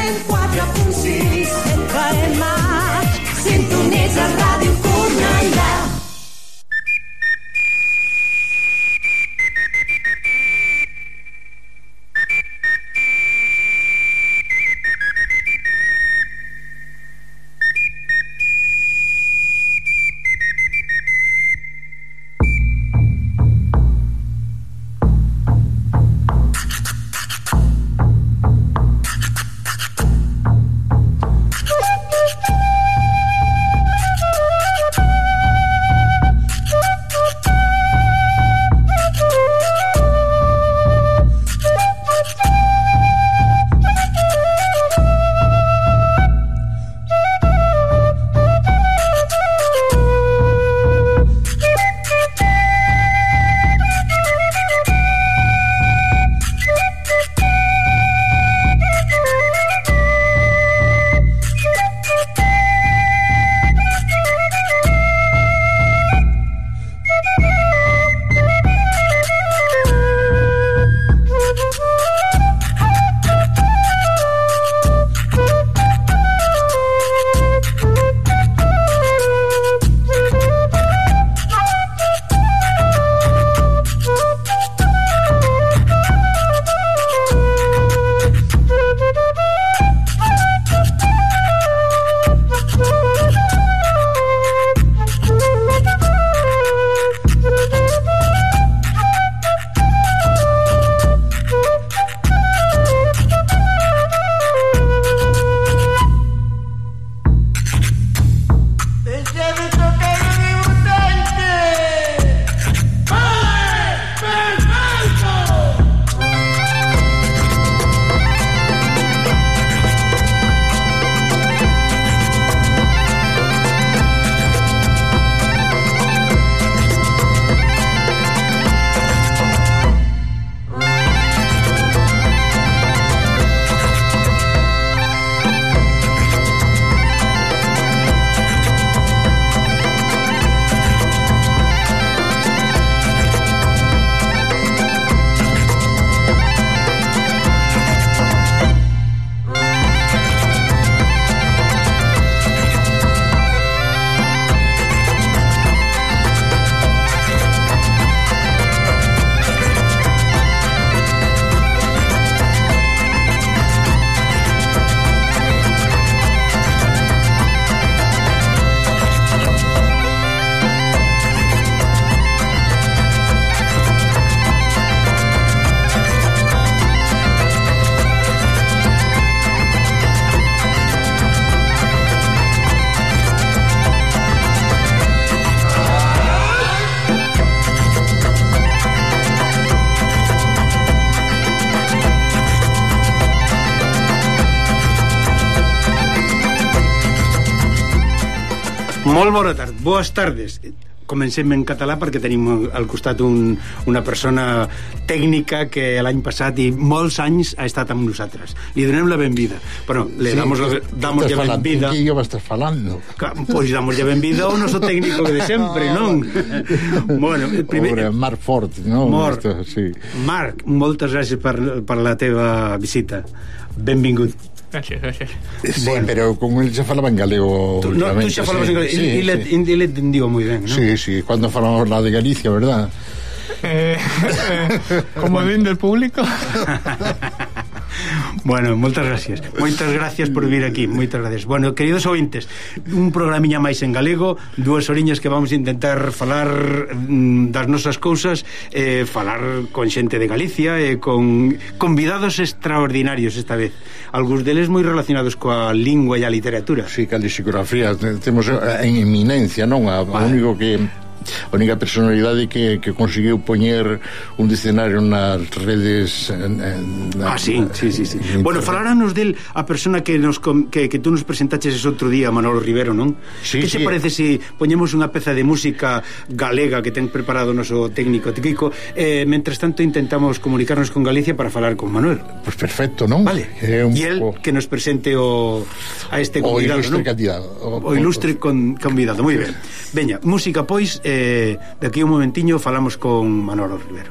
104.6 FM. Sintonitza Ràdio Cornellà. Molt bona tarda, boas tardes. Comencem en català perquè tenim al costat una persona tècnica que l'any passat i molts anys ha estat amb nosaltres. Li donem la benvida. Bueno, le damos la benvida. Que yo estás falando? Pois damos la benvida ao noso técnico de sempre, non? Bueno, primer Marc Fort, non? Sí. Marc, moltes gràcies per la teva visita. Benvingut. Gracias. Sí, bueno, pero con él se falaba en galego. Tú xa falabas en galego. Y le entendió moi ben, ¿no? Sí, cuando falamos la de Galicia, ¿verdad? Como bien del público. Bueno, moitas gracias por vir aquí, moitas gracias. Bueno, queridos ouvintes, un programiña máis en galego, 2 horiñas que vamos a intentar falar das nosas cousas, falar con xente de Galicia, con convidados extraordinarios esta vez, algúns deles moi relacionados coa lingua e a literatura. Sí, que a lexicografía temos en eminencia, non? A único que a única personalidade que conseguiu poñer un dicionario nas redes sí. Bueno, faláranos del a persona que tú nos presentaches ese outro día, Manolo Rivero, non? Sí, que te parece se poñemos unha peza de música galega que ten preparado o noso técnico Tiquico, mentres tanto intentamos comunicarnos con Galicia para falar con Manuel? Pois perfecto, non? Vale, e el que nos presente a este convidado, o ilustre convidado, moi ben. Veña, música pois, de aquí un momentiño falamos con Manolo Rivero.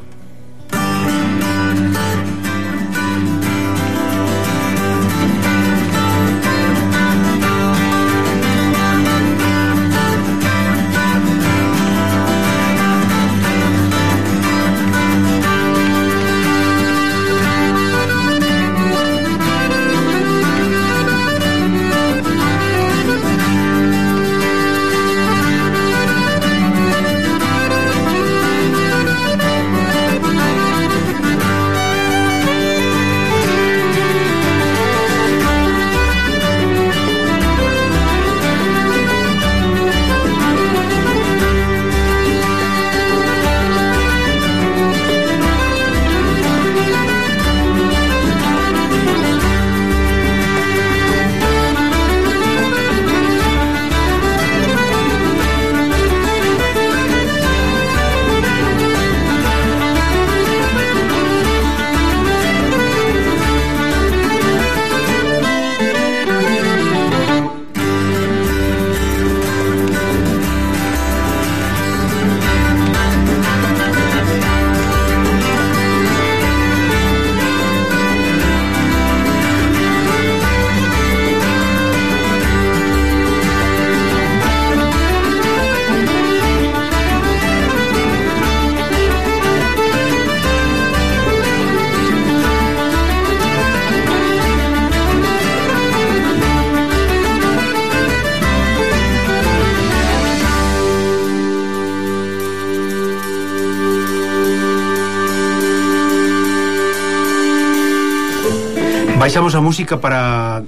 Baixamos a música para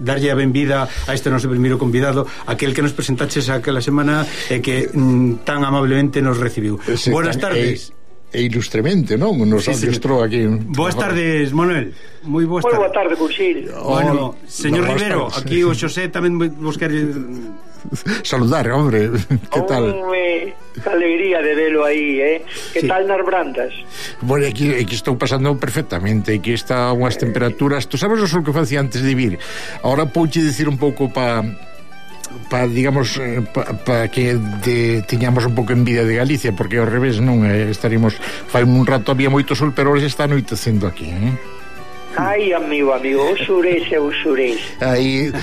darlle a benvida a este noso primeiro convidado, aquel que nos presentaches aquela semana e que tan amablemente nos recibiu. Buenas tardes. Ilustremente, non? Nos adestrou aquí. Boas tardes, Manuel. Moi boas tardes. Moi boa tarde, Cuxil. Bueno, señor Rivero, aquí o Xosé tamén vos quere saludar, hombre. Que tal? Que alegría de velo aí, Que tal nas brandas? Bueno, aquí estou pasando perfectamente. Aquí está unhas temperaturas. Tu sabes o sol que facía antes de vir? Ahora pouche dicir un pouco para digamos para que tiñamos un pouco envidia de Galicia, porque ao revés non estaríamos, fai un rato había moito sol, pero hoxe está anoitecendo aquí, Ai, amigo, o surés é o surés. Aí,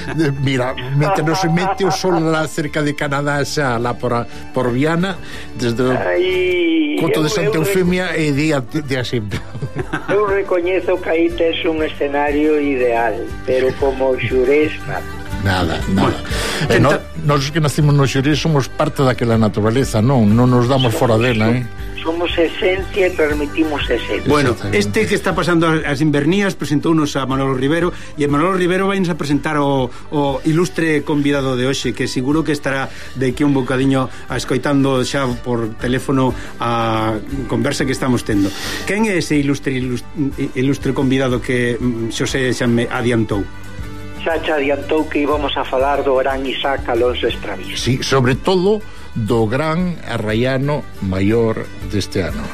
mira, mentre non se mete o sol lá cerca de Canadá, xa lá por Viana, desde o Coto de Santa Eufemia e día sempre. Eu recoñezo que aí tes un escenario ideal, pero como o surés nada. Nós que nacimos no Xurés somos parte daquela naturaleza, non nos damos fora dela, Somos esencia e transmitimos esencia. Bueno, este que está pasando as invernías presentounos a Manolo Rivero, e Manolo Rivero vai a presentar o ilustre convidado de hoxe, que seguro que estará de aquí un bocadiño escoitando xa por teléfono a conversa que estamos tendo. Quen é ese ilustre convidado que Xosé xa me adiantou? Xa te adiantou que íbamos a falar do gran Isaac Alonso Estraviz. Sí, sobre todo do gran arraiano maior deste ano.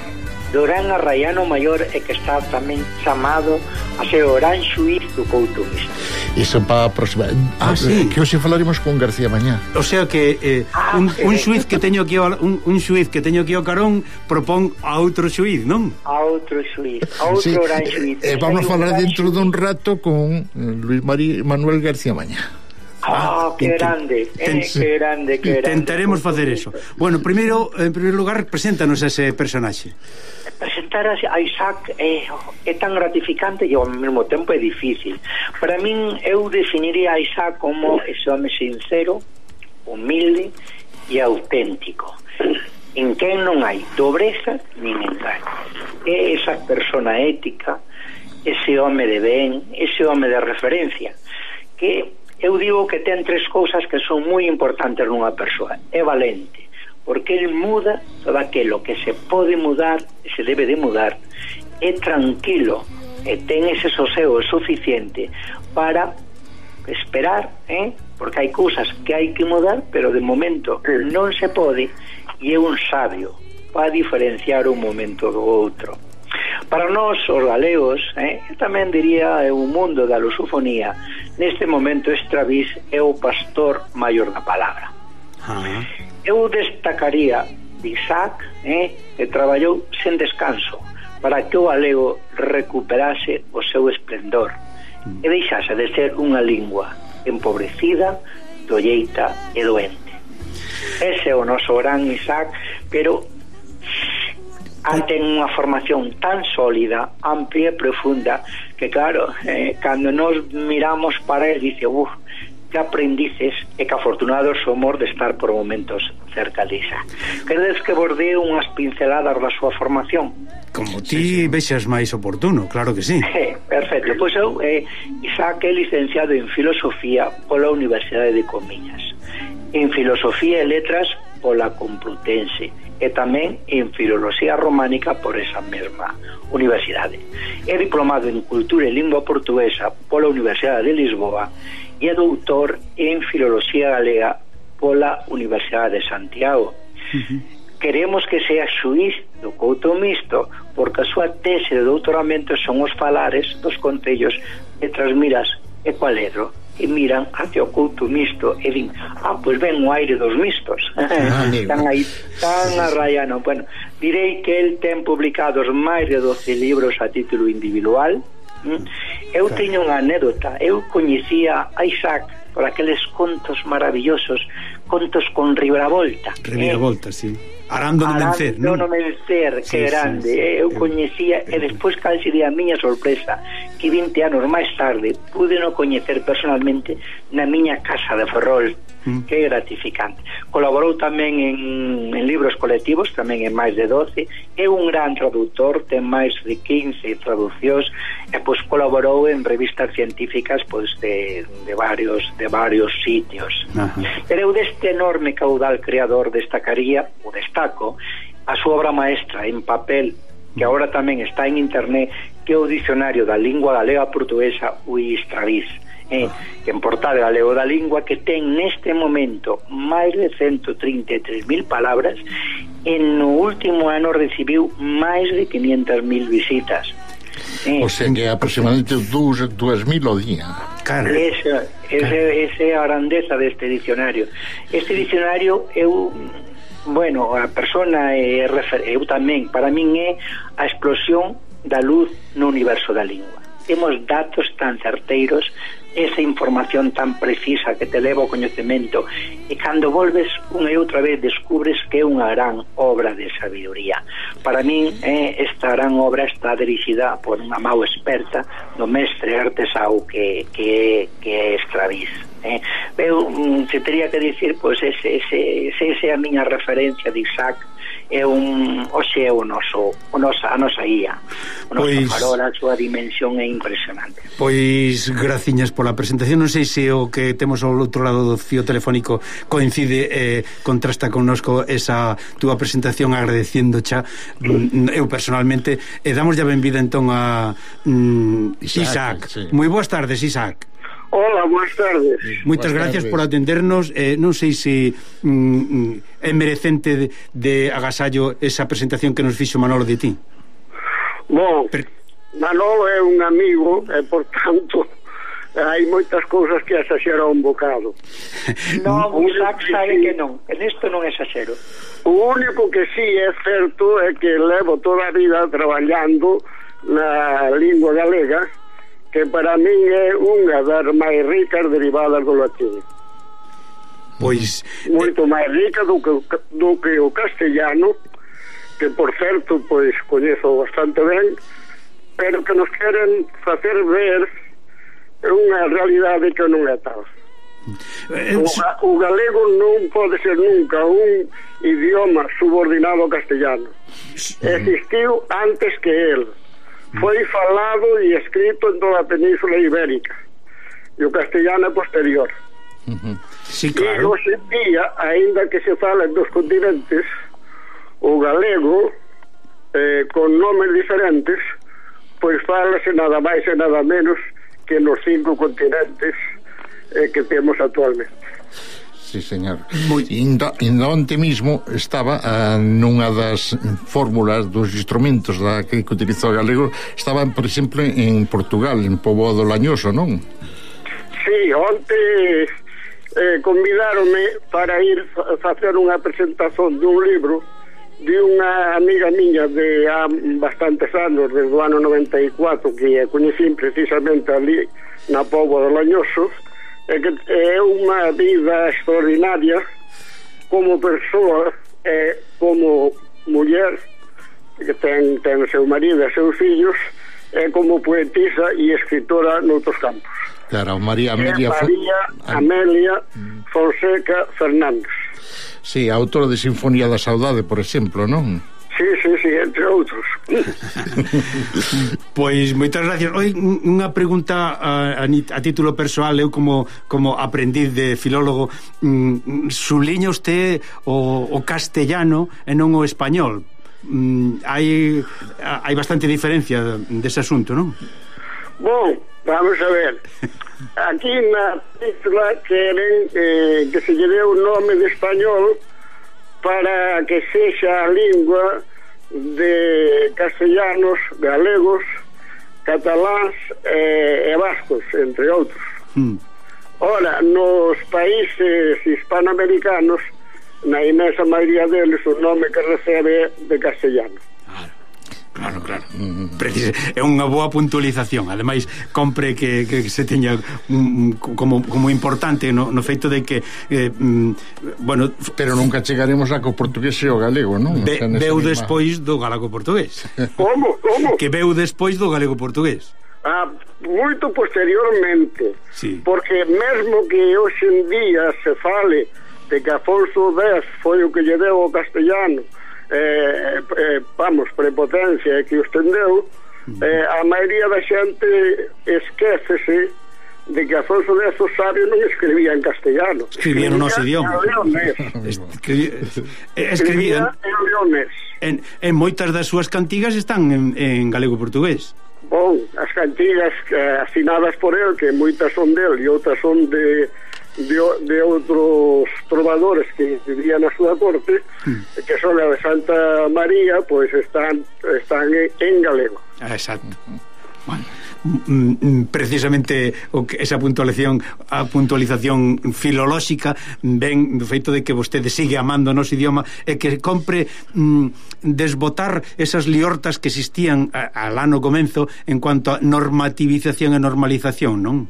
Do gran arraiano maior e que está tamén chamado a ser o gran xuiz do Couto Misto. Iso para a próxima. Sí. Que hoxe falaremos con García Mañá. O sea que un xuiz que teño aquí un xuiz que teño aquí ao carón propón a outro xuiz, non? A outro xuiz, a outro gran xuiz. Vamos a falar dentro dun rato con Luis Manuel García Mañá. Que grande, que grande. Intentaremos facer eso. Bueno, en primeiro lugar, preséntanos ese personaxe. Presentar a Isaac é tan gratificante e ao mesmo tempo é difícil. Para min, eu definiría a Isaac como ese home sincero, humilde e auténtico, en quen non hai dobreza nin engaño. É esa persona ética, ese home de ben, ese home de referencia, que eu digo que ten tres cousas que son moi importantes nunha persoa. É valente, porque ele muda todo aquilo que se pode mudar e se debe de mudar. É tranquilo e ten ese sosego suficiente para esperar, porque hai cousas que hai que mudar, pero de momento non se pode, e é un sabio para diferenciar un momento do outro. Para nós, os galegos, tamén diría o mundo da lusofonía, neste momento Estraviz é o pastor maior da palabra. Eu destacaría de Isaac, que traballou sen descanso para que o galego recuperase o seu esplendor e deixase de ser unha lingua empobrecida, dolleita e doente. Ese é o noso gran Isaac, pero ten unha formación tan sólida, amplia e profunda, que claro, cando nos miramos para él, dice, que aprendices e que afortunados somos de estar por momentos cerca de Isaac. Queredes que bordee unhas pinceladas da súa formación? Como ti vexas máis oportuno, claro que sí. Perfecto, pois eu Isaac é licenciado en Filosofía pola Universidade de Comiñas, en Filosofía e Letras pola Complutense e tamén en Filoloxía Románica por esa mesma universidade. É diplomado en Cultura e Lingua Portuguesa pola Universidade de Lisboa e é doutor en Filoloxía Galega pola Universidade de Santiago. Queremos que sea xuiz do Couto Misto porque a súa tese de doutoramento son os falares dos concellos de Trasmiras e Cualedro, e miran hacia o Couto Misto e din, pois ven o aire dos mistos. Están aí tan arraiano. Bueno, direi que el ten publicados máis de 12 libros a título individual. Eu teño unha anécdota. Eu coñecía a Isaac por aqueles contos maravillosos, contos con reviravolta. Reviravolta, sí. Arando no Mencer, non? Arando no Mencer, que grande. Eu coñecía, e despois cal sería a miña sorpresa, que e 20 anos máis tarde pude no coñecer personalmente na miña casa de Ferrol, que é gratificante. Colaborou tamén en libros colectivos, tamén en máis de 12, é un gran traductor, ten máis de 15 traduccións, e pois colaborou en revistas científicas pois de varios sitios. Pero eu deste enorme caudal creador destacaría, o destaco, a súa obra maestra en papel, que agora tamén está en internet, que é o Dicionario da Lingua Galega Portuguesa, o Istradís, que en Portal Galego da Lingua, que ten neste momento máis de 133.000 palabras, e no último ano recibiu máis de 500.000 visitas. O sea que aproximadamente 2.000 ao día. Esa é a grandeza deste dicionario. Este dicionario a persona eu tamén, para min é a explosión da luz no universo da lingua. Temos datos tan certeiros, esa información tan precisa que te leva ao coñecemento, e cando volves unha e outra vez descubres que é unha gran obra de sabiduría. Para min esta gran obra está dirixida por unha mau experta do mestre artesao que é Estradís. Eu se teria que dicir, pois ese é a miña referencia de Isaac, é a nosa guía, o noso farol, a súa dimensión é impresionante. Pois graciñas pola presentación. Non sei se o que temos ao outro lado do fío telefónico coincide, contrasta connosco esa túa presentación, agradeciendo xa eu personalmente, e damos ya benvida entón a Isaac. Sí. Moi boas tardes, Isaac. Hola, boas tardes. Moitas gracias por atendernos. Non sei se é merecente de agasallo esa presentación que nos fixo Manolo de ti. Bom, Manolo é un amigo e, por tanto, hai moitas cousas que exaxera un bocado. Non, Isaac sabe que non, en isto non exaxero. O único que sí é certo é que levo toda a vida traballando na lingua galega, que para min é unha das máis ricas derivadas do latín. Pois moito máis rica do que o castellano, que por certo pois coñezo bastante ben, pero que nos queren facer ver unha realidade que non é tal. O galego non pode ser nunca un idioma subordinado ao castellano. Existiu antes que el. Foi falado e escrito en toda a Península Ibérica, e o castellano é posterior. Sí, claro. E hoxe en día, aínda que se fala en dos continentes, o galego con nomes diferentes, pois falase nada máis e nada menos que nos 5 continentes que temos actualmente. Sí, señor. Inda onte mismo estaba nunha das fórmulas dos instrumentos que utilizou o galego, estaba, por exemplo, en Portugal, en Poboado Lañoso, non? Sí, onte convidaronme para ir facer unha presentación dun libro de unha amiga miña de há bastantes anos, desde o ano 94, que coñecín precisamente ali na Poboado Lañoso, e que é unha vida extraordinaria como persoa e como muller, que ten seu marido e seus fillos, e como poetisa e escritora noutros campos. Claro, María Amelia Fonseca Fernández. Sí, autora de Sinfonía da Saudade, por exemplo, non? Sí, entre outros. Pois moitas gracias. Oi, unha pregunta a título persoal. Eu como aprendiz de filólogo, subliña usted o castellano e non o español. Hai bastante diferencia dese asunto, non? Bom, vamos a ver. Aquí na península queren que se lle dé un nome de español para que sexa a lingua de castellanos, galegos, cataláns e vascos, entre outros. Ora, nos países hispanoamericanos, na inmensa maioría deles, o nome que recebe de castellano. Claro. É unha boa puntualización. Ademais, compre que se teña como importante no feito de que bueno, pero nunca chegaremos a que o portugués e o galego, non? Veu despois do galego portugués. Como? Que veu despois do galego portugués. moito posteriormente, sí. Porque mesmo que hoxe en día se fale de que Afonso X foi o que lle deu ao castellano prepotencia e que o estendeu, a maioría da xente esquécese de que Afonso X o sabio non escribía en castellano, escribía no noso idioma, escribía en leonés. En moitas das súas cantigas están en galego-portugués. Bon, as cantigas asinadas por el, que moitas son del e outras son de outros trovadores que vivían na súa corte, que son a de Santa María, pois están en galego. Exacto. Bueno, precisamente esa puntualización filolóxica ven do feito de que vostede sigue amando o noso idioma e que compre desbotar esas liortas que existían alá no comenzo en cuanto a normativización e normalización, non?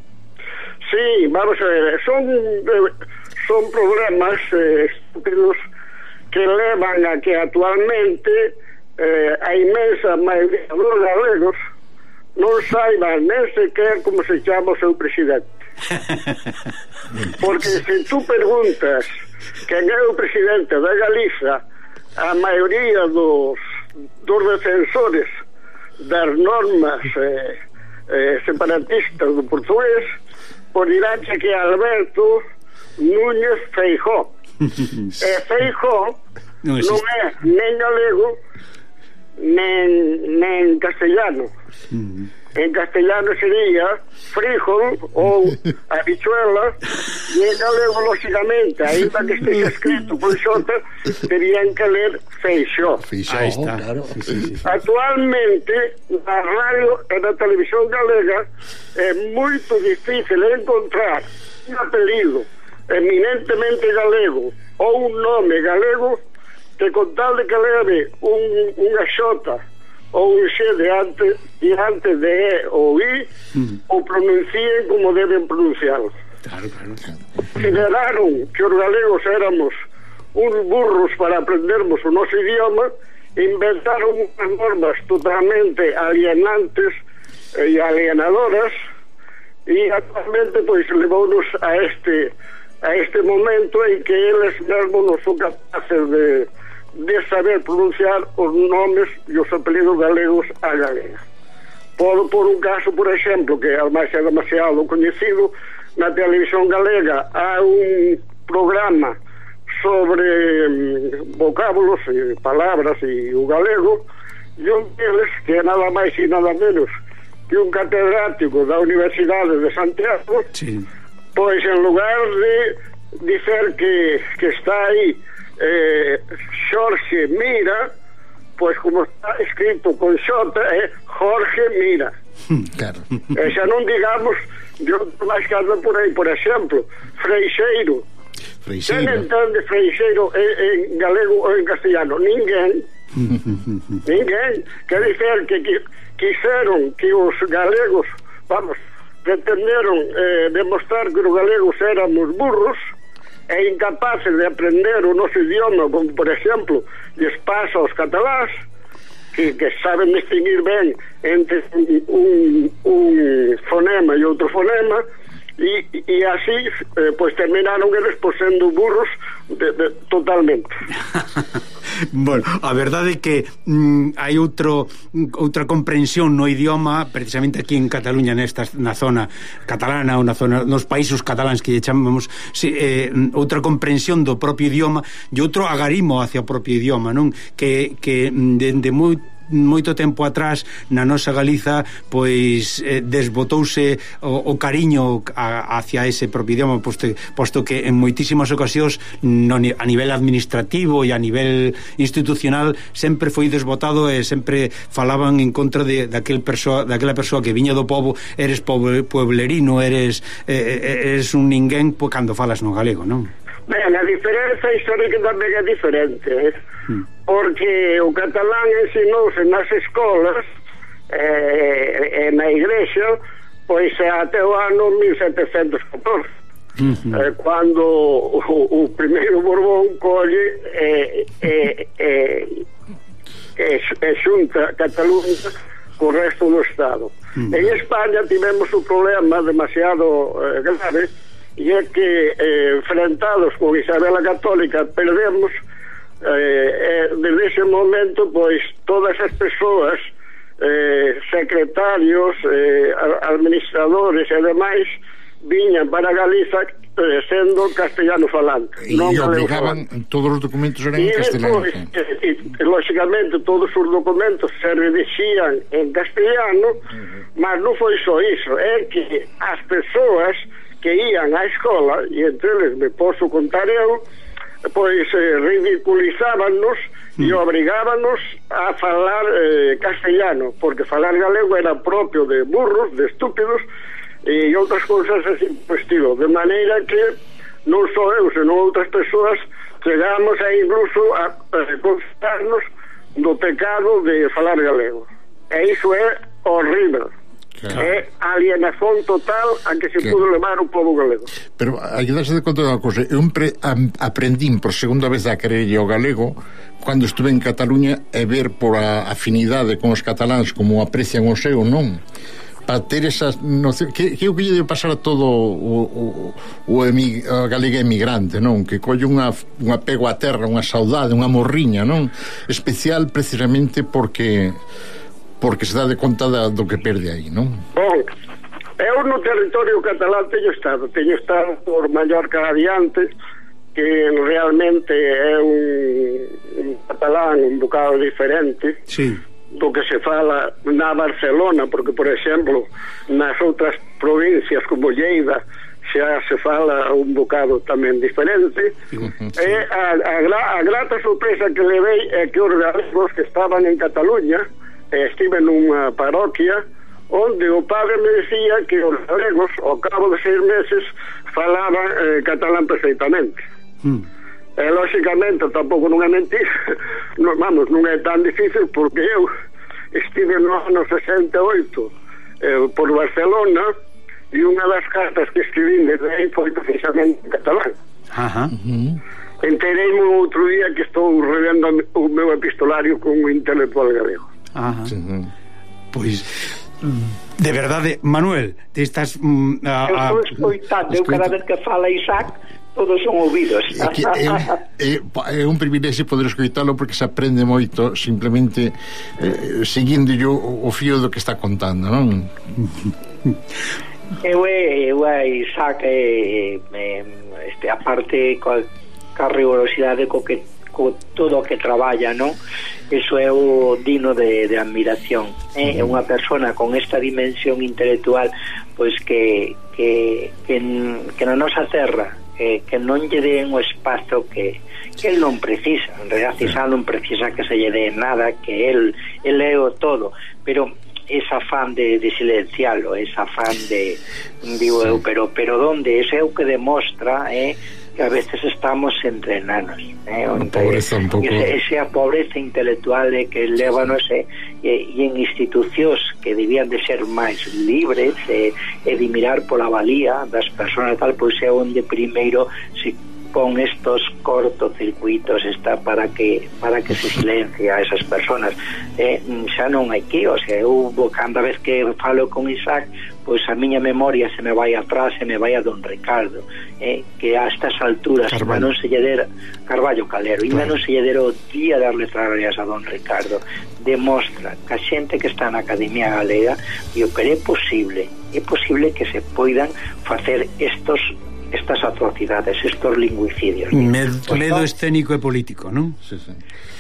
Sí, vamos a ver, son problemas estúpidos que levan a que actualmente a inmensa maioría dos galegos non saiban nem sequer como se chama o seu presidente. Porque se tú preguntas quen é o presidente da Galiza, a maioría dos defensores das normas separatistas do portugués diránche que Alberto Núñez Feijóo. E Feijóo non é nen galego nen castellano. En castellano sería frijol ou habichuela, e en galego, lógicamente, ainda que esteja escrito con xota, terían que ler Feixó. Aí está, claro. Sí. Actualmente, na radio e na televisión galega é moito difícil encontrar un apelido eminentemente galego ou un nome galego que con tal de que leve unha xota ou un xe diante de E ou I, o pronuncien como deben pronunciarlo. Claro. Generaron que os galegos éramos uns burros para aprendermos o noso idioma, inventaron unhas normas totalmente alienantes e alienadoras, e actualmente pois levounos a este momento en que eles mesmos non son capaces de saber pronunciar os nomes e os apelidos galegos a galega. Por un caso, por exemplo, que ademais é demasiado coñecido, na televisión galega há un programa sobre vocábulos e palabras e o galego, e un deles, que é nada máis e nada menos que un catedrático da Universidade de Santiago, Sí. pois en lugar de dicer que está aí Xorxe Mira, pois como está escrito con xota é Jorge Mira. Claro. E xa non digamos de outro máis que andan por aí, por exemplo, Freixeiro. Quen entende Freixeiro en galego ou en castellano? Ninguén. Quer dizer que quixeron que os galegos, pretenderon demostrar que os galegos éramos burros e incapaces de aprender o noso idioma, como por exemplo lles pasa aos catalás, que saben distinguir ben entre un fonema e outro fonema, e así pois terminaron eles por sendo burros totalmente. Bueno, a verdade é que hai outra comprensión no idioma, precisamente aquí en Cataluña, na zona catalana ou na zona nos países cataláns que lle chamamos, outra comprensión do propio idioma e outro agarimo hacia o propio idioma, non? Que dende moito tempo atrás na nosa Galiza pois desbotouse o cariño hacia ese propio idioma, posto que en moitísimas ocasións a nivel administrativo e a nivel institucional sempre foi desbotado e sempre falaban en contra daquela persoa que viña do pobo, eres pueblerino, eres un ninguén cando falas no galego, non? Ben, a diferenza histórica tamén é diferente, porque o catalán ensinouse nas escolas e na igrexa pois até o ano 1714, cando o primeiro Borbón colle e xunta Cataluña co resto do Estado. En España tivemos un problema demasiado grave, e é que enfrentados con Isabel a Católica perdemos desde ese momento pois todas as persoas secretarios, administradores e demais viñan para Galiza sendo castellano falante, e obligaban todos os documentos eran en castellano. E lógicamente todos os documentos se redixían en castellano, mas non foi só iso, é que as persoas que ían á escola, e entre eles me posso contar eu, pois ridiculizábanos e obrigábanos a falar castellano, porque falar galego era propio de burros, de estúpidos e outras cousas así por estilo, de maneira que non só eu, senón outras persoas chegamos a incluso a confesarnos do pecado de falar galego, e iso é horrível. Claro. É alienación total a que se pudo levar o povo galego. Pero hai que darse de conta de unha cosa, eu aprendín por segunda vez a quererlle o galego cando estuve en Cataluña e ver por a afinidade con os cataláns como aprecian o seu, non? Para ter esas nocións que é o que lle debe pasar a todo o galega emigrante, non? Que colle un apego á terra, unha saudade, unha morriña, non? Especial precisamente porque se dá de conta do que perde aí, non? Bon, eu no territorio catalán teño estado por Mallorca adiante, que realmente é un catalán un bocado diferente, sí, do que se fala na Barcelona, porque, por exemplo, nas outras provincias como Lleida xa se fala un bocado tamén diferente. Sí. E a grata sorpresa que levei é que os galegos que estaban en Cataluña, estive nunha parroquia onde o padre me decía que os galegos ao cabo de 6 meses falaban catalán perfectamente. E lógicamente tampouco non é mentira, non é tan difícil, porque eu estive no ano 68 por Barcelona e unha das cartas que escribí desde aí foi precisamente en catalán. Entereime outro día que estou revendo o meu epistolario con un intelectual galego. Pois de verdade, Manuel, te estás eu estou escoitando, eu cada vez que fala Isaac todos son ouvidos. É un privilexio poder escoitalo, porque se aprende moito simplemente seguindo o fío do que está contando, non? Eu Isaac aparte coa rigorosidade co todo o que traballa, non? Eso é o digno de admiración. É unha persona con esta dimensión intelectual, pois que na nosa terra que non lle den o espazo que el non precisa. En realidad Isaac non precisa que se lle dé nada, que el é o todo, pero ese afán de silencialo, ese afán de digo eu, pero donde ese é o que demostra que a veces estamos entre enanos, esa pobreza intelectual que levanos e en institucións que debían de ser máis libres e de mirar pola valía das persoas tal, pois é onde primeiro se pon estos cortocircuitos para que se silencie a esas personas. Xa non hai que, o sea, eu cada vez que falo con Isaac, pois a miña memoria se me vai atrás, se me vai a Don Ricardo, que a estas alturas non se lle dera Carballo Calero, ainda non se lle dera o día das letras a Don Ricardo. Demostra que a xente que está na Academia Galega, pero é posible que se poidan facer estas atrocidades, estos lingüicidios. Medo escénico e político, non?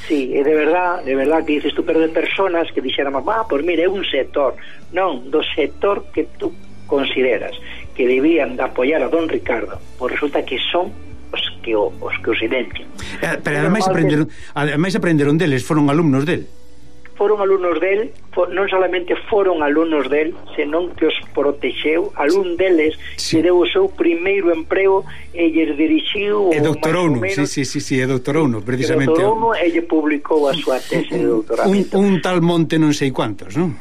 Sí, é de verdad que dices tú, pero de personas que dixéramos, pois mira, é un sector, non, do sector que tú consideras que debían de apoiar a Don Ricardo, pois resulta que son os que o silencian. Pero ademais aprenderon deles, foron alumnos del. Foron alumnos del, non solamente foron alumnos del, senón que os protexeu. Alún deles que deu o seu primeiro emprego e lle dirixiu e doctorouno, sí, doctorouno precisamente. Doctorouno e lle publicou a súa tese de doutoramento. Un tal Monte non sei cuantos, non?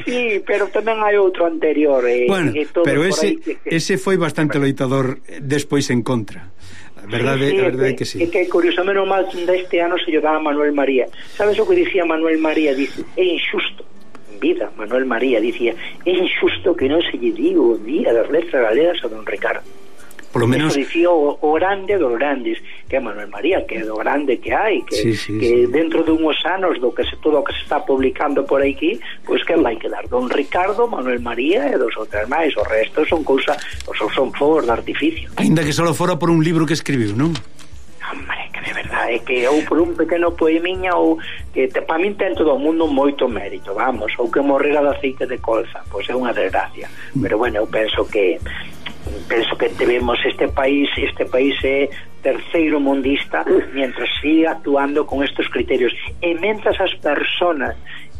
Sí, pero tamén hai outro anterior. Bueno, pero ese foi bastante loitador despois en contra. Verdade que sí. Que curiosamente mal deste ano se lle daba a Manuel María. Sabes o que dicía Manuel María? Dice, é injusto vida, Manuel María, dicía: é injusto que non se lle diga o Día das Letras Galegas a don Ricardo. Por lo menos... Eso dicía o grande dos grandes, que é Manuel María, que é do grande que hai, que, que dentro de unhos anos todo o que se está publicando por aquí, pois que vai quedar don Ricardo, Manuel María e dos outros máis. O resto son cousa, son fogos de artificio. Ainda que só fora por un libro que escribiu, non? Hombre, que de verdade, que ou por un pequeno poemiña, ou que para min ten todo o mundo moito mérito, vamos, ou que morrera de aceite de colza, pois é unha desgracia. Pero bueno, eu penso que debemos, este país é terceiro mundista, mientras siga actuando con estos criterios, e mentras as personas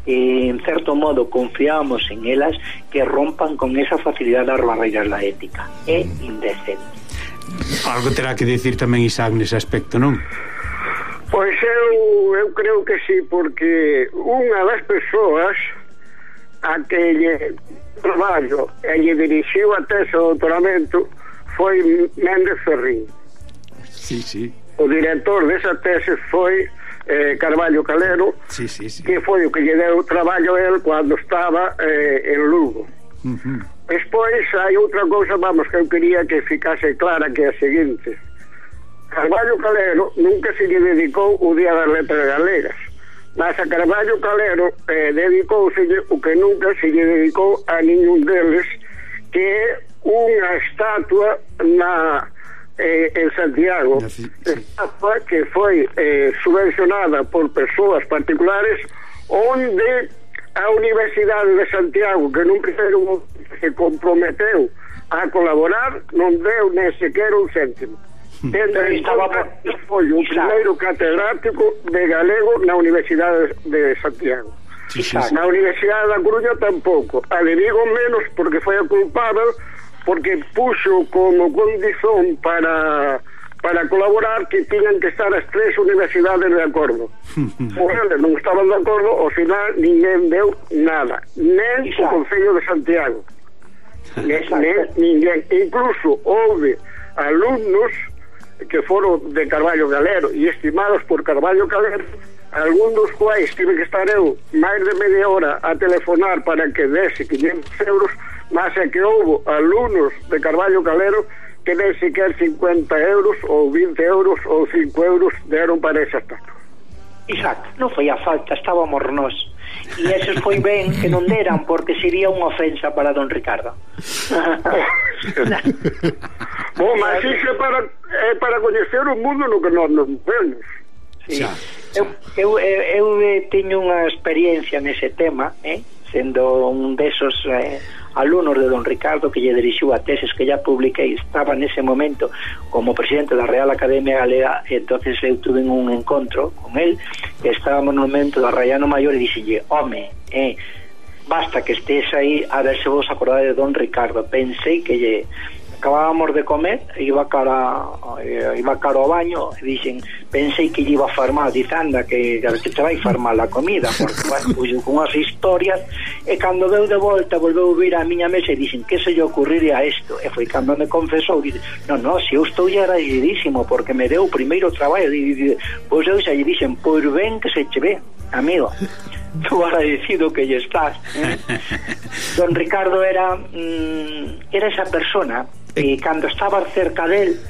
en certo modo confiamos en elas, que rompan con esa facilidade das barreiras da ética. É indecente. Algo terá que decir tamén Isaac nese aspecto, non? Pois eu creo que sí, porque unha das persoas a que lle traballo e lle dirixiu a tese de doutoramento foi Méndez Ferrín. Sí. O director desa tese foi Carballo Calero, que foi o que lle deu traballo a él cando estaba en Lugo. Despois hai outra cousa, vamos, que eu quería que ficase clara, que é a seguinte: Carballo Calero nunca se lle dedicou o Día das Letras Galegas, mas a Carballo Calero dedicouselle o que nunca se lle dedicou a ningún deles, que é unha estatua en Santiago, estatua que foi subvencionada por persoas particulares, onde a Universidade de Santiago, que nun primeiro se comprometeu a colaborar, non deu nem sequer un céntimo. Foi o primeiro catedrático de galego na Universidade de Santiago. Na Universidade da Coruña tampouco. A de Vigo menos, porque foi a culpável, porque puxo como condición para colaborar que tiñan que estar as tres universidades de acordo. Eles non estaban de acordo, ao final ninguén deu nada, nen o Concello de Santiago, nen ninguén. Incluso houve alumnos que foron de Carballo Calero e estimados por Carballo Calero, algún dos quais tive que estar eu máis de media hora a telefonar para que dese 500 euros, mas é que houve alumnos de Carballo Calero que nem sequer 50 euros ou 20 euros ou 5 euros deron para esa estatua. Exacto, non foi a falta, estábamos nós. E esos foi ben que non deran, porque sería unha ofensa para don Ricardo. Bom, mas iso é para coñecer o mundo no que nós non vemos. Sí. Eu teño unha experiencia nese tema, sendo un desos alumnos de don Ricardo, que lle dirixiu a teses que ya publiquei. Estaba nese momento como presidente da Real Academia Galega, e entonces eu tuve un encontro con él, e estábamos no momento do Arraiano Maior, e dixelle: home, basta que estés aí, a ver se vos acordades de don Ricardo. Pensei que lle acabábamos de comer, iba cara ao baño, e dixen, pensei que lle iba a farmar, dice, anda, que te vai farmar a comida, porque, bueno, puxo con unhas historias, e cando veu de volta, volveu vir á miña mesa e dixen, que se lle ocurriría isto? E foi cando me confesou, dice, non, se eu estou agradecidísimo, porque me deu o primeiro traballo, pois eu xa lle dixen, pois ben que se che ve, amigo, tu agradecido que lle estás. Don Ricardo era esa persona que cando estaba cerca del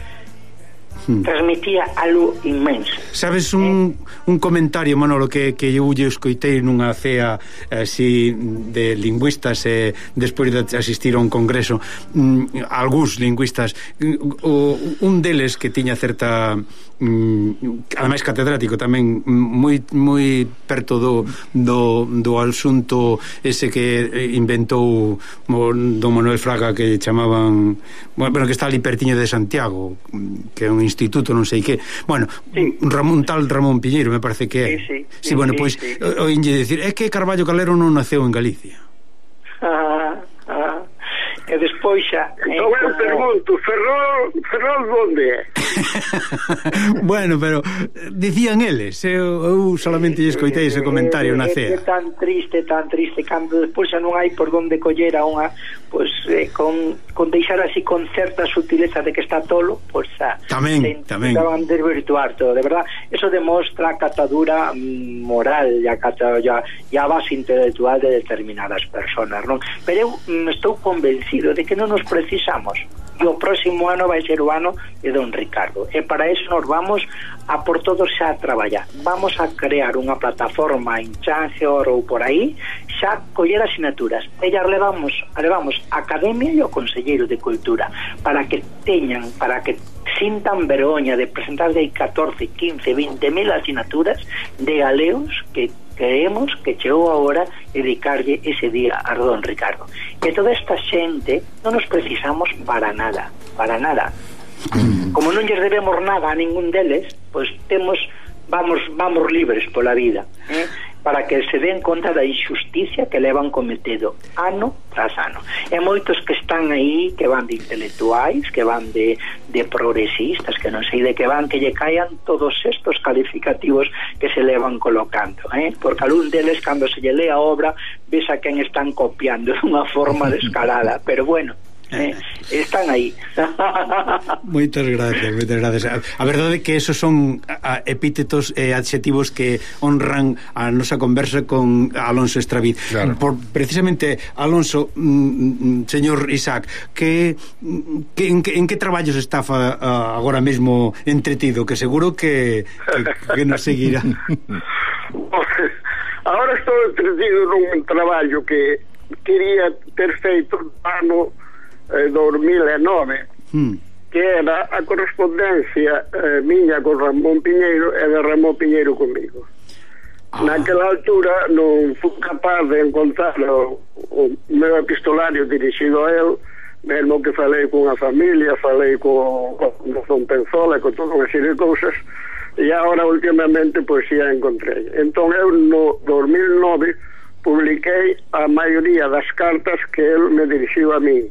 transmitía algo inmenso. Sabes un comentario, Manolo, que eu lle escoitei nunha cea así de lingüistas, despois de asistir a un congreso, algúns lingüistas, un deles que tiña certa ademais catedrático tamén, moi perto do asunto ese que inventou don Manuel Fraga, que chamaban, bueno, que está ali pertiño de Santiago, que é un instituto, non sei que, bueno, sí. Ramón Piñeiro, me parece que é. Sí, bueno, pois oínlle dicir, é que Carballo Calero non naceu en Galicia. E despois xa eu pergunto, Ferrol onde é? Bueno, pero dicían eles, eu solamente lle escoitei ese comentario na cea. É tan triste, cando despois xa non hai por onde coller a unha, pois con deixar así con certa sutileza de que está tolo, pois tamén van desvirtuar todo, de verdad. Eso demostra a catadura moral e a base intelectual de determinadas personas, non? Pero eu estou convencido de que non nos precisamos, e o próximo ano vai ser o ano de Don Ricardo, e para eso nos vamos a por todos xa a traballar. Vamos a crear unha plataforma en Changeor ou por aí, xa coller asignaturas, e ya levamos a Academia e o Conselleiro de Cultura para que sintan vergoña de presentar de 14, 15, 20 mil asignaturas de galeos que creemos que chegou a hora dedicarlle ese día a Don Ricardo. E toda esta xente non nos precisamos para nada. Como non lles debemos nada a ningún deles, pois vamos libres pola vida, para que se den conta da injusticia que levan cometido ano tras ano. E moitos que están aí, que van de intelectuais, que van de progresistas, que non sei de que van, que lle caian todos estos calificativos que se levan colocando, porque algún deles, cando se lle lee a obra, ves a quen están copiando de unha forma descarada, pero bueno, están aí. Moitas gracias. A verdade é que esos son epítetos e adxetivos que honran a nosa conversa con Alonso Estraviz. Claro. Precisamente, Alonso, señor Isaac, en que traballos está agora mesmo entretido? Que seguro que nos seguirá. Agora estou entretido nun traballo que quería ter feito no ano 2009, que era a correspondencia miña con Ramón Piñeiro e de Ramón Piñeiro comigo. Naquela altura non fui capaz de encontrar o meu epistolario dirixido a él, mesmo que falei con a familia, falei con Don Penzola e con toda unha serie de cousas, e agora últimamente pois xa encontrei. Entón eu no 2009 publiquei a maioría das cartas que él me dirixiu a mí.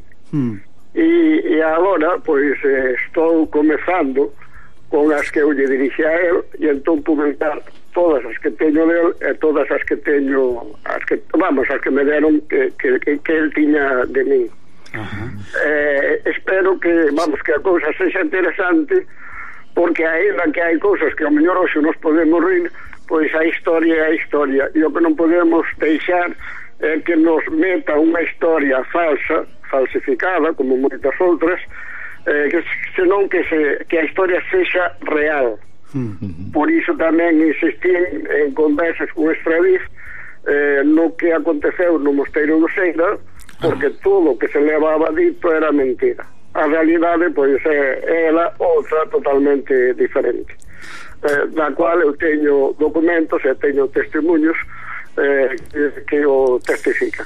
E agora pois estou comezando con as que eu lle dirixi a él, e entón publicar todas as que teño del e todas as que teño, as que me deron que él tiña de mí. Espero que a cousa sexa interesante, porque ainda que hai cousas que ao mellor hoxe nos podemos rir, pois a historia é a historia, e o que non podemos deixar é que nos meta unha historia falsificada, como moitas outras, senón que a historia sexa real. Por iso tamén insistí en conversas con Estraviz no que aconteceu no Mosteiro do Seira, porque todo o que se levaba dito era mentira. A realidade pois é ela outra totalmente diferente, da cual eu teño documentos e teño testemunhos que o testifican.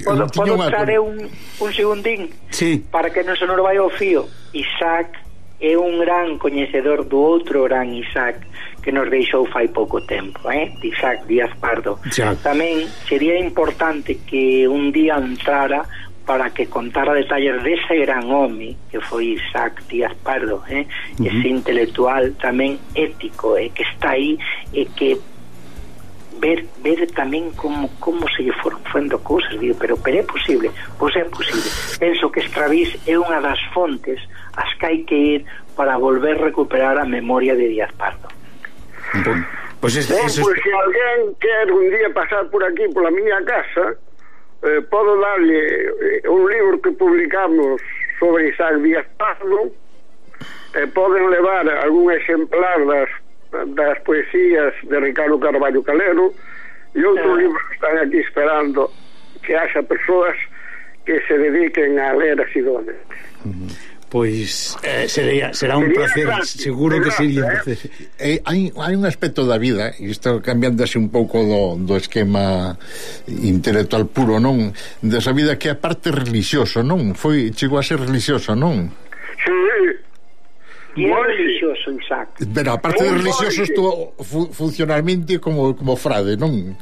Podo traer un segundín? Sí. Para que non se nos vai ao fío. Isaac é un gran coñecedor do outro gran Isaac que nos deixou fai pouco tempo, Isaac Díaz Pardo. Ya. Tamén sería importante que un día entrara para que contara detalles dese gran home que foi Isaac Díaz Pardo, ese intelectual tamén ético, que está aí, e que ver tamén como se lle foron fendo cousas, digo, pero é posible, pois é posible. Penso que Estraviz é unha das fontes as que hai que ir para volver a recuperar a memoria de Díaz Pardo. Pois se alguén quer un día pasar por aquí pola miña casa, podo darlle un libro que publicamos sobre Isaac Díaz Pardo, poden levar algún exemplar das poesías de Ricardo Carballo Calero e outros libros que están aquí esperando que haxa persoas que se dediquen a ler así donde. Pois será un placer, seguro que sería un placer. Hai un aspecto da vida, e isto cambiando así un pouco do esquema intelectual puro, non? Desa vida que é a parte religioso, non? Chegou a ser religioso, non? Sí. E é religioso, Isaac. Pero aparte de religioso, estou funcionalmente como frade, non?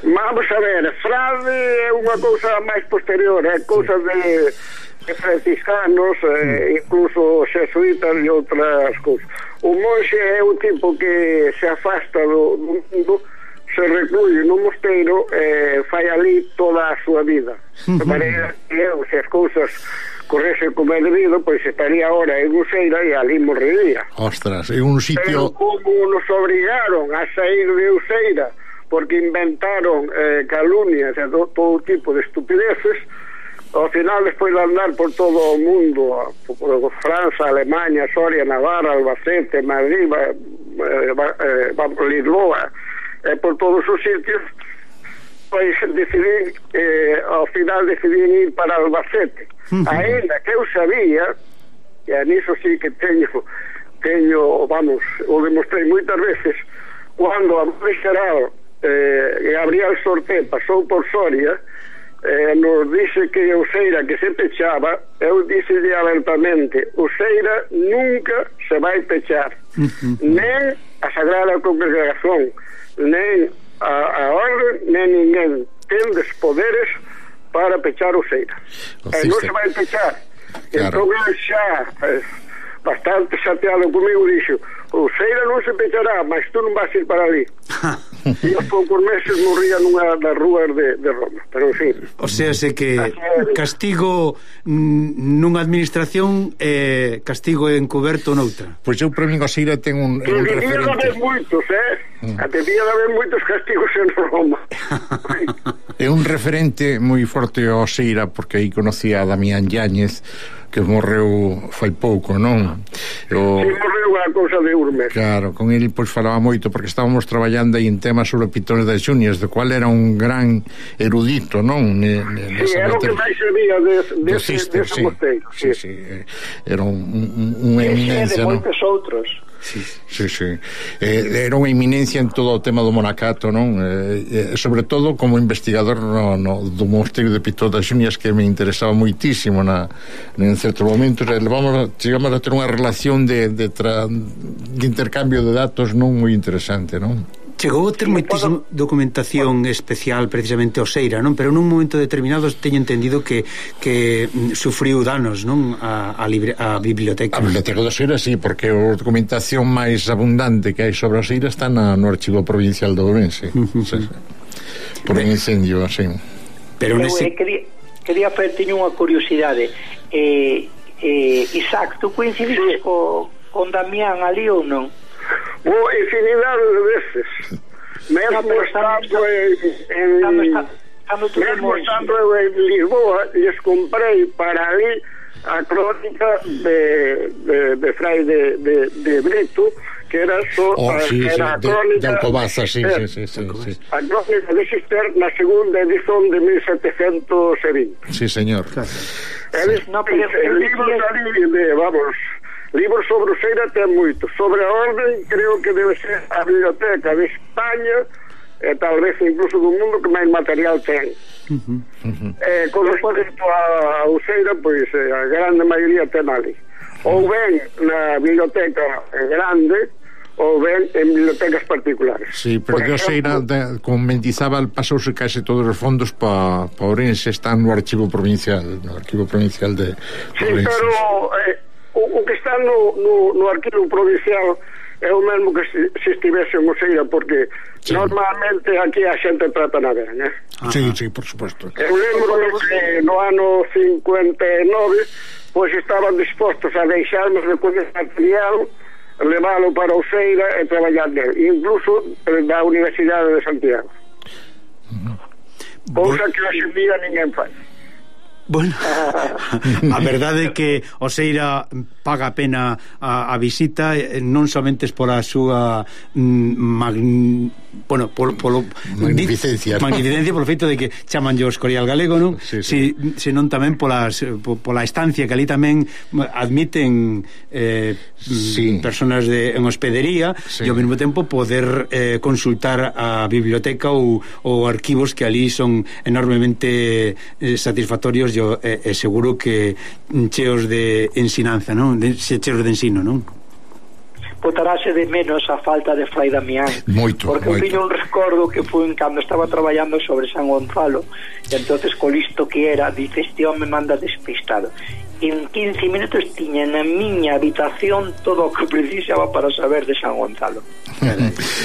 Vamos a ver, frade é unha cousa máis posterior, é cousa franciscanos, incluso xesuitas e outras cousas. O monxe é o tipo que se afasta do mundo, se recluye no mosteiro e fai ali toda a súa vida. De maneira que se as cousas correse como é debido, pois estaría ahora en Useira e ali morrería. Ostras, é un sitio... Pero como nos obrigaron a sair de Useira porque inventaron calumnias e todo tipo de estupideces, ao final, despois de andar por todo o mundo, por França, Alemanha, Soria, Navarra, Albacete, Madrid, Lisboa, por todos os sitios, pois decidí, ao final decidí ir para Albacete. Ainda que eu sabía, e nisso sí que teño, vamos, o demostrei moitas veces, cando a Madre Xeral Gabriel Sorté pasou por Soria, nos dice que Useira que se pechaba, eu dixelle abertamente: Useira nunca se vai pechar, nen a Sagrada Congregación, nen a orden, nen ninguén tendes poderes para pechar Useira, e non se vai pechar. Entón eu xa bastante chateado comigo dixo: Useira non se pechará, mas tú non vas ir para ali. E aos poucos meses morría nunha das rúas de Roma, pero en fin. O sea, se que castigo nunha administración e castigo encoberto noutra. Pois eu para mí Useira ten un referente. Debía de haber moitos, debía de haber moitos castigos en Roma. É un referente moi forte a Useira, porque aí conocía a Damián Yáñez, que morreu fai pouco, non? Sí, morreu a cousa de Urmes. Claro, con ele pois falaba moito, porque estábamos traballando aí en temas sobre Pitones das Xunias, do cual era un gran erudito, non? Sí, era o que máis sabía dese mosteiro. Sí, era unha eminencia, non? E de moitos outros. Sí. Era unha eminencia en todo o tema do monacato, non? Sobre todo como investigador do mosteiro de Pitones das Xunias, que me interesaba moitísimo en certos momentos. Chegamos a ter unha relación de intercambio de datos non moi interesante, non? Chegou a ter moitísima documentación especial precisamente Useira, non? Pero nun momento determinado teño entendido que sufriu danos, non? A biblioteca. A biblioteca de Useira, sí, porque a documentación máis abundante que hai sobre Useira está no Archivo Provincial de Ourense. Sí. Por un incendio, así. Pero quería teño unha curiosidade. Isaac, tú coincidiste con Damián ali ou non? Infinidade de veces. Mesmo estando en Lisboa, les comprei para ali a crónica de Fray de Brito, que era a crónica de Alcobaza, sí. A crónica de Xister na segunda edición de 1720. Sí, señor. El libro libros sobre Useira ten moito. Sobre a orden, creo que debe ser a Biblioteca de España e tal vez incluso do mundo que máis material ten. Con respecto a Useira, pois a grande maioría ten ali. Ou ben na biblioteca grande, ou ben en bibliotecas particulares. Sí, porque Useira, con Mendizábal, pasouse case todos os fondos para Ourense, están no Archivo Provincial de Ourense. Sí, pero o que está no Arquivo Provincial é o mesmo que se estivese en Useira, porque normalmente aquí a xente trata na ben, Sí, por suposto. Eu lembro que no ano 59 pois estaban dispostos a deixarnos de coñer material, leválo para Useira e traballar nel, incluso da Universidade de Santiago. Cousa que hoxe en día ninguén fai. Bueno, a verdade é que Useira paga a pena a visita, non somente por a súa magnificencia, polo feito de que chaman o Escorial Galego, non? Sí. Senón tamén pola estancia, que ali tamén admiten personas en hospedería, e ao mesmo tempo poder consultar a biblioteca ou arquivos que ali son enormemente satisfactorios e seguro que cheos de ensinanza, non? Cheos de ensino, non? botarase de menos a falta de Fray Damián. Moito, porque moito. eu tiño un recordo que foi cando estaba traballando sobre San Gonzalo, e entonces co listo que era, dice, este home manda despistado. En 15 minutos tiña na miña habitación todo o que precisaba para saber de San Gonzalo.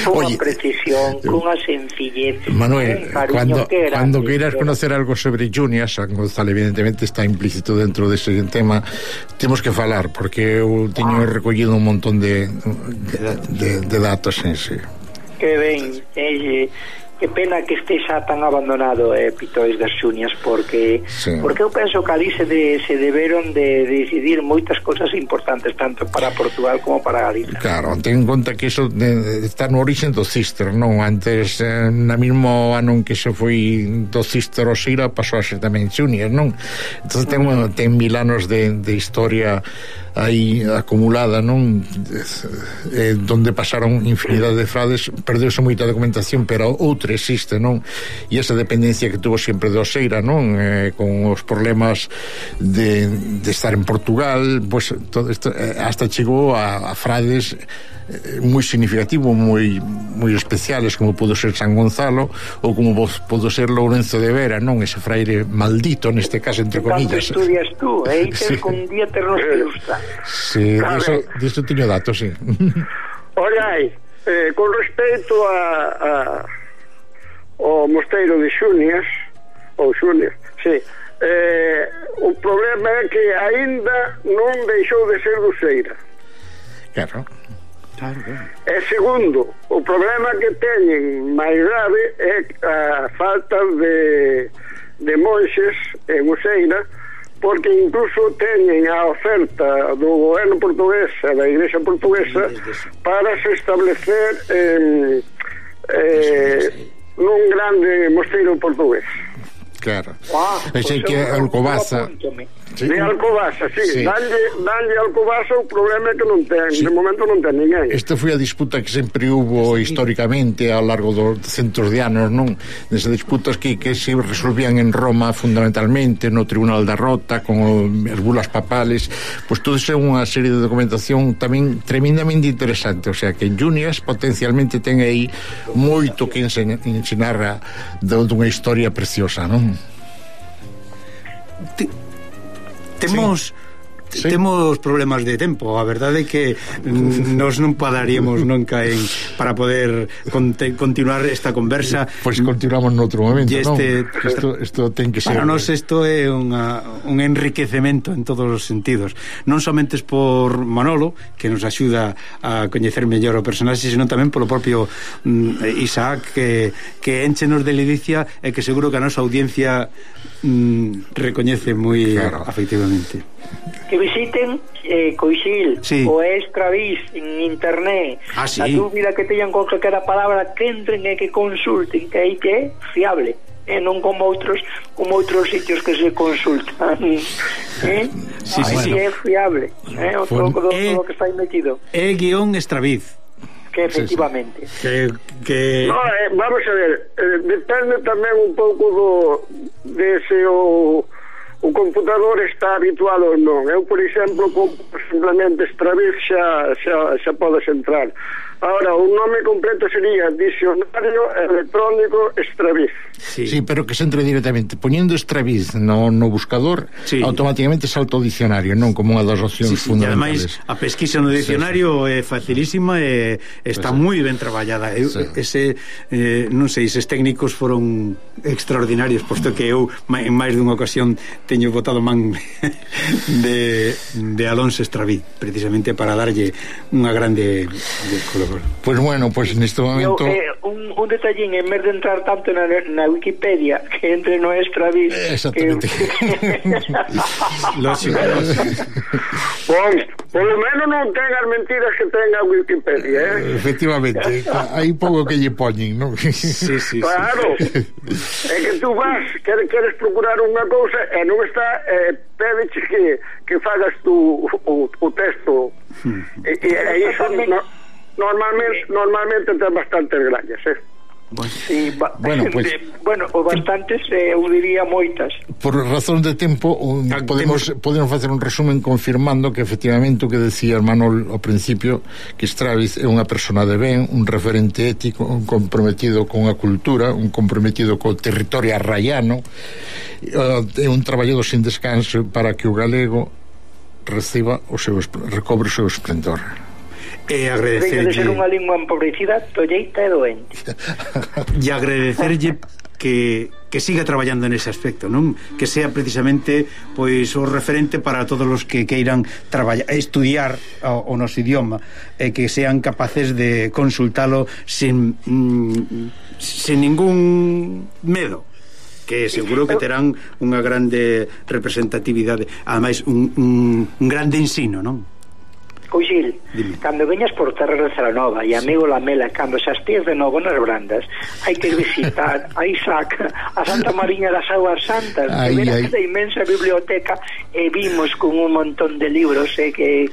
Con unha precisión, con unha sencillez, Manuel, un cariño cuando queiras conocer algo sobre Junior, San Gonzalo evidentemente está implícito dentro dese tema, temos que falar, porque eu teño recollido un montón de datos en sí. Que ben, que pena que este xa tan abandonado, Pitois das Xunias, porque eu penso que ali se deberon de decidir moitas cosas importantes, tanto para Portugal como para Galicia. Claro, ten en conta que iso está no origen do Cister, non? Antes, na mismo ano en que se foi do Cister ao Sira, pasou a ser tamén Xunias, non? Entón ten 1000 anos de historia aí acumulada, non? Donde pasaron infinidade de frades, perdeuse moita documentación, pero outra existe, non? E esa dependencia que tuvo sempre do Oseira, non? Con os problemas de estar en Portugal, pues, todo isto, hasta chegou a frades moi significativo, moi especiales, como pudo ser San Gonzalo ou como pudo ser Lourenzo de Vera, non? Ese fraire maldito, neste caso, entre comillas. Tanto estudias tú, que un día ternos que gusta. Sí, disso teño datos, sí. Olha, con respecto ao mosteiro de Xunias, sí, o problema é que aínda non deixou de ser doceira. Claro. E segundo, o problema que teñen máis grave é a falta de monxes en Useira, porque incluso teñen a oferta do goberno portugués e da Igrexa portuguesa para se establecer nun grande mosteiro portugués. Claro. Pensei que Alcobaza. Sí. De Alcobaza, sí. Danlle Alcobaza, o problema é que non ten, de momento non ten ninguén. Esta foi a disputa que sempre hubo históricamente ao largo dos centos de anos, non? Nesas disputas que se resolvían en Roma fundamentalmente, no Tribunal da Rota, con as bulas papales, pois todo iso é unha serie de documentación tamén tremendamente interesante, o sea que Junias potencialmente ten aí moito que ensinar dunha historia preciosa, non? Temos problemas de tempo. A verdade é que nos non padaríamos nunca para poder continuar esta conversa. Pois continuamos noutro momento, non? Isto ten que ser. Para nós isto é un enriquecemento en todos os sentidos. Non somente por Manolo, que nos axuda a coñecer mellor o personaxe, senón tamén polo propio Isaac, que énchenos de ledicia e que seguro que a nosa audiencia recoñece moi afectivamente. Que visiten Coixil o Extravis en internet. Sí. A dúbida que teñan con calquera palabra, que entren e que consulten, que aí que é fiable, non como outros sitios que se consultan. Sí. É fiable, o todo que está aí metido. Extraviz. Que efectivamente. No, vamos a ver, depende tamén un pouco de se o computador está habituado ou non. Eu, por exemplo, simplemente Extraviz xa podes entrar. Ahora, o nome completo sería Dicionario Electrónico Extraviz. Sí, pero que se entre directamente poñendo Extraviz no buscador, automáticamente salta o dicionario, non como unha das opcións fundamentales. E ademais, a pesquisa no dicionario é facilísima e está moi ben traballada. Non sei, eses técnicos foron extraordinarios, posto que eu en máis dunha ocasión teño botado man de Alonso Extraviz, precisamente para darlle unha grande color. Pues bueno, pues neste momento un detallín, en vez de entrar tanto na Wikipedia, que entre no Extraviz. Exactamente. Lógico. Polo menos non ten as mentiras que ten a Wikipedia, Efectivamente, hai pouco que lle poñen, non? Sí. Claro. É que tú vas, queres procurar unha cousa e non está, pédeche que fagas tú o texto. E iso normalmente ten bastantes grañas, Sí, Bueno, pues, o bastantes, eu diría moitas. por razón de tempo podemos facer un resumen confirmando que efectivamente o que decía Manol ao principio, que Straviz é unha persona de ben, un referente ético, un comprometido con a cultura, un comprometido co territorio arraiano, é un traballador sin descanso para que o galego recobre o seu esplendor. E Veña de ser unha lingua empobrecida, tolleita e doente. E agradecerlle que siga traballando nese aspecto, non? Que sea precisamente pois o referente para todos os que queiran estudiar o noso idioma, e que sean capaces de consultalo sin ningún medo, que seguro que terán unha grande representatividade, ademais un grande ensino, non? Cousil, cando veñas por terra de Celanova e amigo Lamela, cando xa estés de novo nas Brandas, hai que visitar a Isaac, a Santa Mariña das Aguas Santas, que ver esta inmensa biblioteca, e vimos con un montón de libros que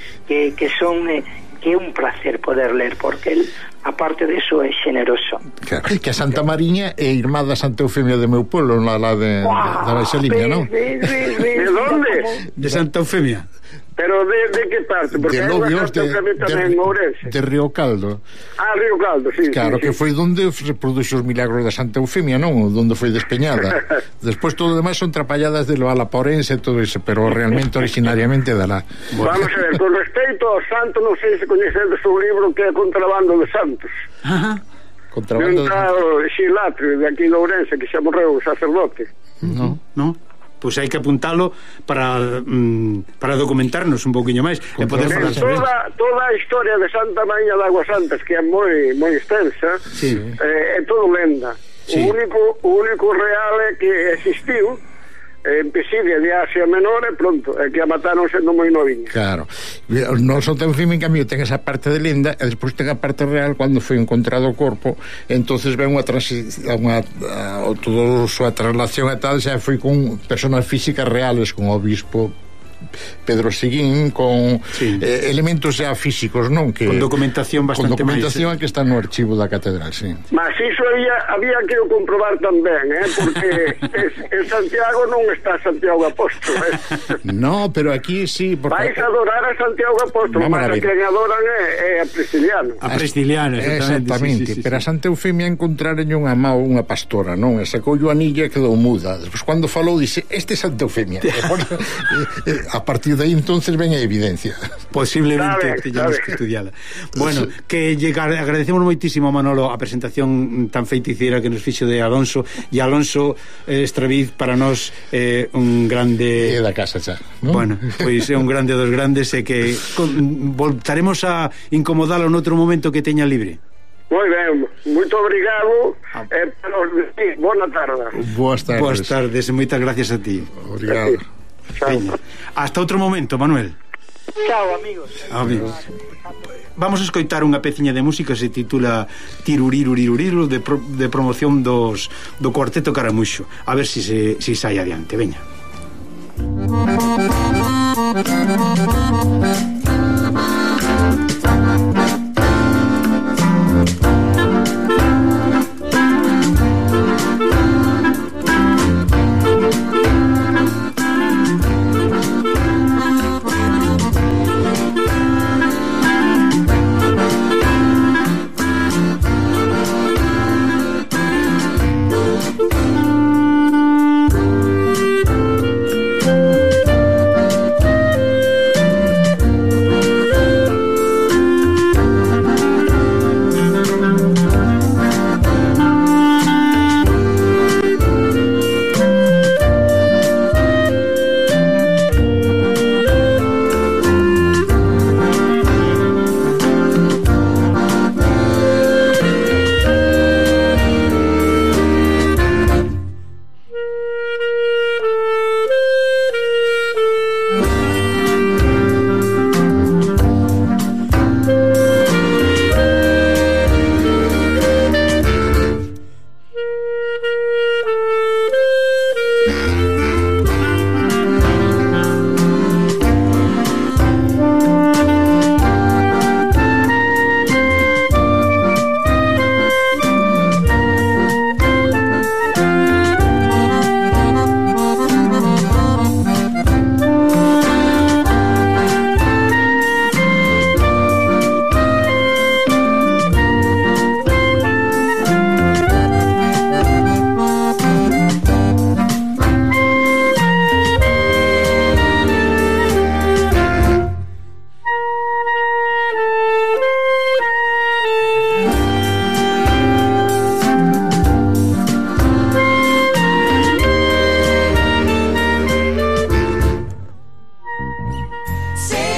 son que é un placer poder ler, porque él, aparte de eso, é xeneroso. Claro, que a Santa Mariña é irmá da Santa Eufemia de meu pueblo, da Baixa Limia, non? ¿De dónde? De Santa Eufemia. Pero de que parte? Porque de Lobios, de Río Caldo. Ah, Río Caldo, sí. Claro, sí, que foi donde se produxo os milagros da Santa Eufemia, non? Donde foi despeñada. Despois todo o demais son trapalladas de Valaporense e todo eso, pero realmente originariamente da lá. Vamos a ver, con respecto ao santo, non sei se coñecedes un libro que é Contrabando de Santos. Ajá. Contrabando de un Xilatrio de aquí de Ourense, que xa morreu o sacerdote. No. Pois hai que apuntalo para documentarnos un pouquiño máis e poder falar sobre toda a historia de Santa Mariña de Aguas Santas, que é moi extensa, sí. É todo lenda. Sí. O único real é que existiu en Pisidia de Asia Menor e pronto, é que a mataron sendo moi noviña. Claro, non son tan firme, en cambio ten esa parte de lenda e despois ten a parte real cando foi encontrado o corpo, entonces ven toda a súa traslación e tal, xa foi con personas físicas reales, con o obispo Pedro Seguín, con elementos xa físicos, non? Que, con documentación bastante con documentación que está no archivo da catedral, sí. Mas iso había que o comprobar tamén, porque en Santiago non está Santiago Apóstolo, No, pero aquí sí, porque vais a adorar a Santiago Apóstolo, mas a que adoran é a Prisciliano. A Prisciliano, exactamente. Sí. Pero a Santa Eufemia encontraron unha unha pastora, non? E sacou o anilla e quedou muda. Despois cando falou dice, este é Santa Eufemia. A partir de aí entonces ven a evidencia. Posiblemente teñamos que estudiala. Bueno, que agradecemos moitísimo a Manolo a presentación tan feiticeira que nos fixo de Alonso, e Alonso Straviz para nós un grande da casa xa, ¿no? Bueno, pois é un grande dos grandes, e que voltaremos a incomodalo noutro momento que teña libre. Moi ben, moito obrigado boa tarde. Boas tardes, moitas gracias a ti. Obrigado. Hasta outro momento, Manuel. Chao, amigos. Vamos a escoitar unha peciña de música, se titula Tiruriruriru, de promoción do Cuarteto Caramuxo. A ver si sai adiante, veña.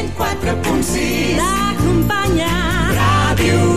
104.6 t'acompanya. Ràdio